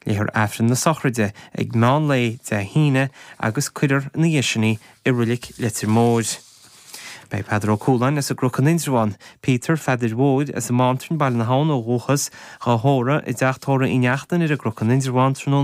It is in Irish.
Léifear Aifreann na sochraide ag meán lae Dé hAoine agus cuirfear ina dhiaidh sin í i Roilic Leitir Móir. Beidh Peadar Ó Cualáin as an gCnoc in Indreabhán, Peter Pheadair Mhóir as an mBeanntraí, Baile na hAbhann ó dhúchas, dhá thórramh i dteach tórraimh Uí Neachtain ar an gCnoc in Indreabhán tráthnóna.